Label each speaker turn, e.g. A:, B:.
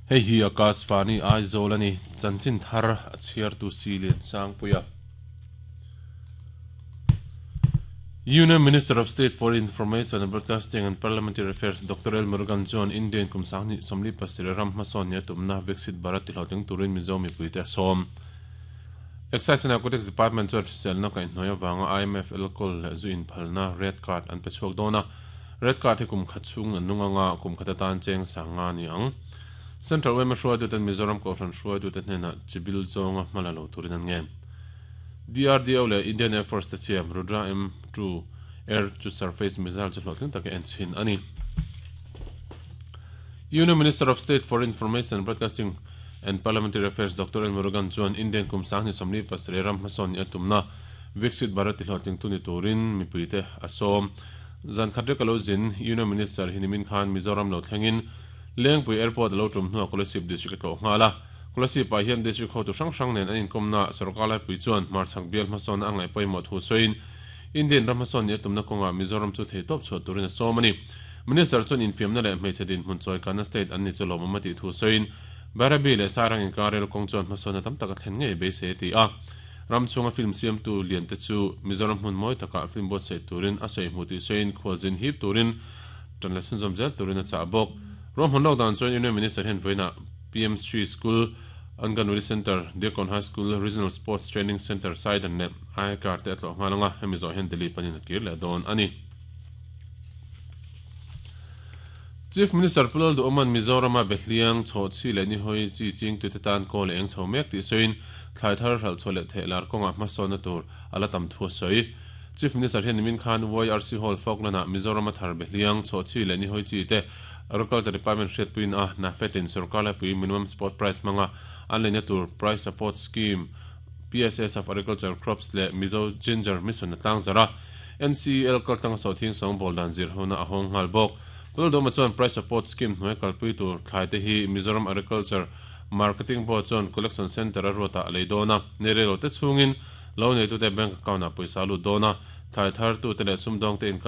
A: Hei hi Akashvani Aizawl a ni, chanchin thar a chhiartu si Liansangpuia. Union Minister of State for Information and Broadcasting and Parliamentary Affairs Doctor L Murugan chuan Indian kum sanghnih 47 ram hmasawn nia tumna Viksit Bharat tihlawhtling turin Mizo mipuite a sawm. Excise and Narcotics Department chuan hriselna kaihhnuai avanga IMF alcohol leh zu inphalna Red Card an pe chhuak dawn a. Red Card hi kum khat chhung an nung anga kum khat atan cheng sang nga a ni ang. Central yma hruaituten Mizoram Kohhran hruaitute hnenah chibil zawnga hma la lo turin an ngen. DRDO leh Indian Air Force te siam Rudra M2 Air to Surface Missile chu hlawhtling taka en chhin a ni. Union Minister of State for Information and Broadcasting and Parliamentary Affairs Doctor L Murugan chuan Indian kum 2037 ram hmasawn nih a tumna Viksit Bharat tihlawhtlingtu ni turin mipuite a sawm. Zan khat rek a lo zin Union Minister hi nimin khan Mizoram lo thlengin Lengpui Airport a lo tum hnuah Kolasib District a tlawh nghal a. Kolasib-ah hian District hotu hrang hrang nen an inkawmnaah sorkar laipui chuan hmarchhak bial hmasawnna a ngaih pawimawh thu sawiin Indian ram hmasawn nih a tumna kawngah Mizoram chu theitawp chhuah turin a sawm a ni. Minister chuan infiamna leh hmeichhe dinhmun chawikanna state an ni chu lawmawm a tih thu sawiin Bairabi leh Sairang inkar rel kawng chuan hmasawnna tam tak a thlen ngei beisei a ti a. Ram chhunga film siamtu liante chu Mizoram hmun mawi takah film buatsaih turin a sawi hmu tih sawiin khualzin hip turin tan la chhunzawm zel turin a chah bawk. Ruahman lawk dan chuan Union Minister hian vawiinah PMShree School, Anganwadi Centre, Diakon High School, Regional Sports Training Centre, Saidan leh Aikar te a tlawh nghal ang a, hemi zawh hian Delhi panin a kir leh dawn a ni. Chief Minister Pu Lalduhawma'n Mizorama Behliang, Chhawhchhi leh Nihawi chi chingtute tan kawl a eng chho mek tih sawiin thlai thar hralh chhuah leh theh lar kawngah hmasawnna tur a la tam thu a sawi. Chief Minister hian nimin khan YRC Hall Falkland-ah Mizorama thar Behliang, Chhawhchhi leh Nihawi chi te Agriculture Department hriatpuiin a NAFED-in sorkar laipui Minimum Support Price hmanga an leina tur Price Support Scheme, PSS, of Agriculture Crops leh Mizo Ginger Mission a tlangzarh a. NCEL kaltlanga sawhthing sawngbawl dan zir hona a hawng nghal bawk. Pulldawma chuan Price Support Scheme hnuai kalpui tur thlai te hi Mizoram Agriculture Marketing Board chuan Collection Centre a ruatah a lei dawn a, nei rei lo te chhungin lo neitute bank account ah pawisa a lut dawn a, thlai thar tute leh sumdawngte in.